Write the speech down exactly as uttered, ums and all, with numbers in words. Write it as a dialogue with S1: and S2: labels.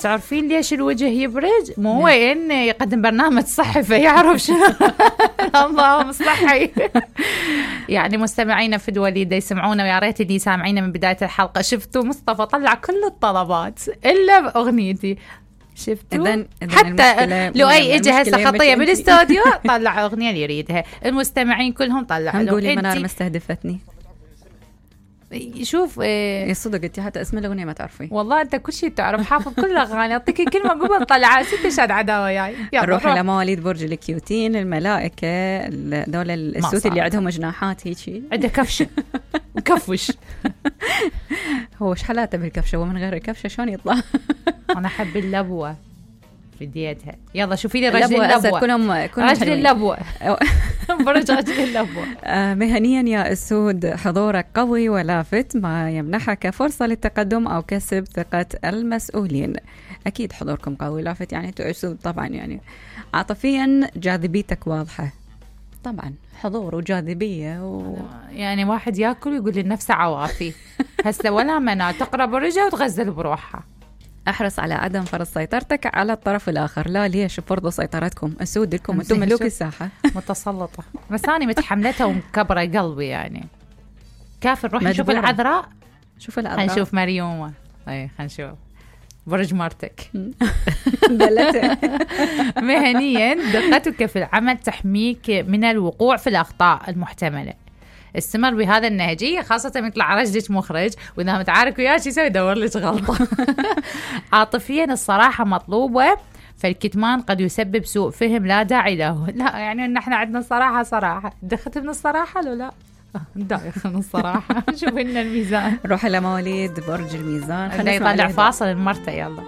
S1: تعرفين ليش الوجه يبرد؟ مو هو إن يقدم برنامج صحي فيعرف شنو. اللهم صحي. يعني مستمعينا في الوليدة يسمعونا، ويا ريت اللي سامعينا من بداية الحلقة شفتوا مصطفى طلع كل الطلبات إلا بأغنيتي. شفتوا حتى لو أي إجي هسه خطية بالاستوديو طلع أغنية اللي يريدها. المستمعين كلهم طلعوا.
S2: نقولي منار ما استهدفتني.
S1: شوف
S2: ايه صدق انت حتى اسم الاغنيه ما تعرفي.
S1: والله انت كل شيء تعرف، حافظ كل الاغاني. اعطيك كلمه قبل طلعها ست شاد عداوه جاي.
S2: نروح على مواليد برج الكيوتين، الملائكه دول السوت اللي عندهم جناحات هيك،
S1: عنده كفشه وكفش.
S2: هو ايش حالاته بالكفشه ومن غير الكفشه شلون يطلع؟
S1: انا احب اللبوه بديتها. يلا شوفي لي رجل اللبوه.
S2: كلهم كلهم
S1: رجل اللبوه. برج رجل اللبوه.
S2: آه مهنيا يا اسود، حضورك قوي ولافت، ما يمنحك فرصه للتقدم او كسب ثقه المسؤولين. اكيد حضوركم قوي لافت، يعني انتوا اسود طبعا. يعني عاطفيا جاذبيتك واضحه طبعا، حضور وجاذبيه و...
S1: يعني واحد ياكل ويقول لنفسه عواطي. هسه ولا منع تقرب الرجل وتغزل بروحها.
S2: احرص على عدم فرض سيطرتك على الطرف الاخر. لا ليش فرضوا سيطرتكم؟ اسود لكم، انتم ملوك الساحه.
S1: متسلطه. بس انا متحملتها ومكبره قلبي يعني. كافي نروح نشوف العذراء.
S2: شوف العذراء،
S1: حنشوف مريومه. اي حنشوف برج مرتك. مهنيا دقتك في العمل تحميك من الوقوع في الاخطاء المحتمله. استمر بهذا النهجية، خاصة يطلع رجلك مخرج وإذا متعارك وياه شو يسوي يدور لك غلطة. عاطفيا الصراحة مطلوبة، فالكتمان قد يسبب سوء فهم لا داعي له. لا يعني إن إحنا عندنا صراحة صراحة. دخلت من الصراحة لو لا دايخ من الصراحة. شوف لنا الميزان.
S2: روح إلى مواليد برج الميزان.
S1: خلينا يطلع فاصل المرتة. يلا